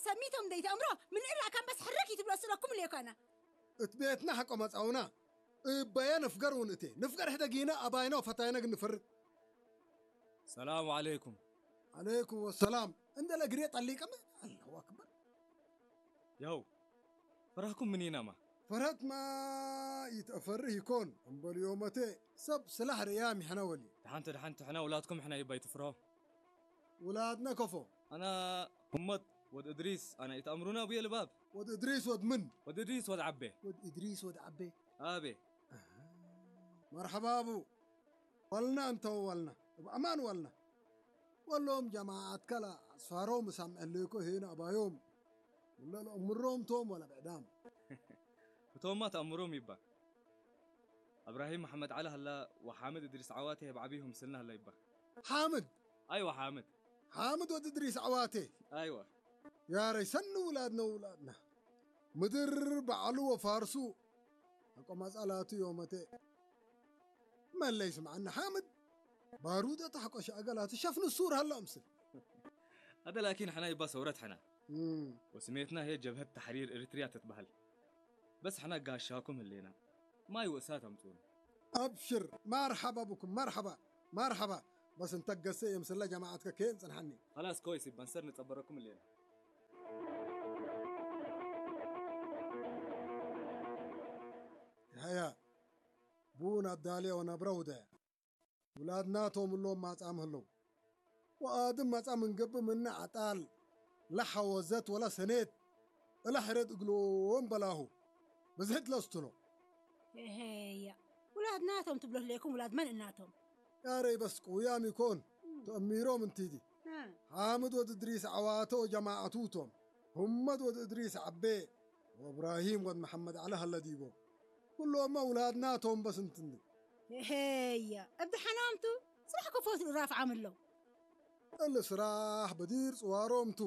ሰሚቶም ደይተእምሮ ምልእላ ካምበስ ሕርክ ይትብሎ ስለኩም ልየኳና። እት ቤትና ሓቆ መጻውና እበየ ንፍገር እውን እቴ ንፍገር ሕደጊነ ኣባይኖ ፈታይነ ግን ንፍርቅ። ሰላም ዓለይኩም። ዓለይኩም ወሰላም። እንደለ ግሬ ጠሊቀመ። ኣላሁ ኣክበር። ያው ፈራህኩም ምን ይናማ? ፈረትማ ይትፈርህ ይኮን እምበልዮ መቴ ሰብ ስላሕ ርእያ ሚሕና ወሊ። ደሓንቲ ደሓንቲ ሕና ውላድኩም ሕና ይባይ ትፍርሆ። ውላድና ከፎ። ኣና ሁመት ወድ እድሪስ ኣና ይትኣምሩና ብየ ልባብ። ወድ እድሪስ ወድ ምን? ወድ እድሪስ ወድ ዓቤ። ወድ እድሪስ ወድ ዓቤ። ኣቤ። መርሐባ ኣቡ። ዋልና እንተው ዋልና እብ ኣማን ዋልና። ወሎም ጀማዓት ከላ ኣስፋሮም ሳምዐ ሌኮ ሄን ኣባዮም። ወላ ለእምሮም ቶም ወላ ብዕዳም። እቶማ ተኣምሮም ይባ። እብራሂም መሐመድ ዓሊ ሃላ ወሓምድ እድሪስ ዓዋቴ ብዓቢሁም ስልና ሃላ ይባ። ሓምድ። ኣይዋ ሓምድ። ሓምድ ወድ እድሪስ ዓዋቴ። ኣይዋ። ያረይ ሰኒ ውላድና ውላድና። ምድር በዓሉ ወፋርሱ ኣቆማጻላቱ ዮመቴ። መለይ ስምዓና ሓምድ። ባሩደ ታሕቆ ሻእገላቱ ሸፍኑ ሱር ሃላ ምስል። هذا لكن حنا يبا ثورة حنا. እም። وسميتنا هي جبهة تحرير إريتريا تتبهل. بس حنا قاشاكم اللينا. ما يوسات أمتون. ኣብሽር፣ መርሐባ ብኩም፣ መርሐባ፣ መርሐባ። በስ እንተ ገሰ የምስላ ጀማዓትከ ከየን ጽንሐኒ። خلاص كويس يبا نصير نتصبركم اللينا. ሃያ፣ ቡን ኣዳልዮ ነብረ ውደ። ውላድናቶም እሎም ማጻም ህለው። ወኣድም ማጻም እንገብእ ምነ ዓጣል ለሐወዘት ወላ ሰኔት እለ ሕረድ እግሎም በላሁ። ብዝሕት ለስትኖ። እሄያ። ውላድናቶም ትብሎ ህሌኩም ውላድ መን እናቶም? ያረይ በስ ቅውያም ይኮን። እም። ተእሚሮም እንቲዲ። እ። ሓምድ ወድ እድሪስ ዓዋተ ወጀማዓቱ ቶም። ሁመድ ወድ እድሪስ ዓቤ ወእብራሂም ወድ መሐመድ ዓሊ ሃለ ዲቦ። ኩሎማ ውላድናቶም በስ እንትንዲ። እሄያ። እብ ደሓናምቱ ስራሕ ክፈትሉ ራፍዓም ኣለው። እሊ ስራሕ በዲር ጽዋሮምቱ።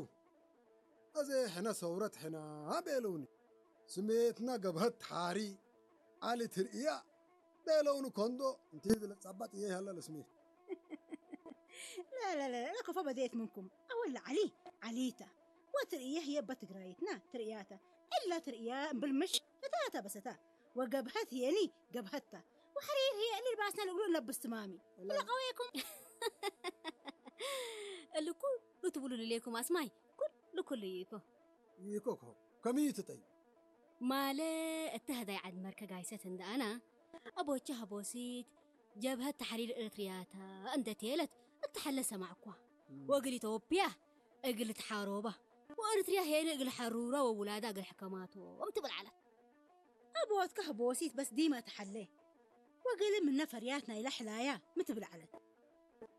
ኣዜ ሕነ ሰውረት ሕና ቤለውኒ። ስሜትና ገብሀት ሓሪ ዓሊ ትርእያ ቤለውኒ ኮንዶ እንቲ ዝለጻባጥ እየ ሃላ ለስሜት። لا لا لا لا كفى بديت منكم. أول علي عليتا. وترئيه هي بتقرايتنا ترئياتا. إلا ترئيا بالمش فتاتا بستا. وجبهت هي ني جبهتا. وحرير هي اللي لباسنا القلوب نلبس تمامي. لا. إلا قويكم. اللي كل تقولوا لي ليكم أسماي. كل كل يكو. ይኮኮ ከምዩ ትጠይ። ማለ እተ ህዳይ ዓድ መርከ ጋይሰት እንደ ኣና ኣቦቸ ሀቦሲት ጀብሀት ተሕሪር ኤርትርያታ እንደ ቴለት እተሐለ ሰማዕኳ። እም። ወእግል ኢትዮጵያ እግል ተሓሮባ ወኤርትርያ ሄነ እግል ሐሩራ ወውላዳ እግል ሕከማቶም ትብል ዓለት። ኣቦትከ ሀቦሲት በስ ዲማ ተሐለ ወእግል ምነ ፈርያት ናይላ ሕላያ ምትብል ዓለት።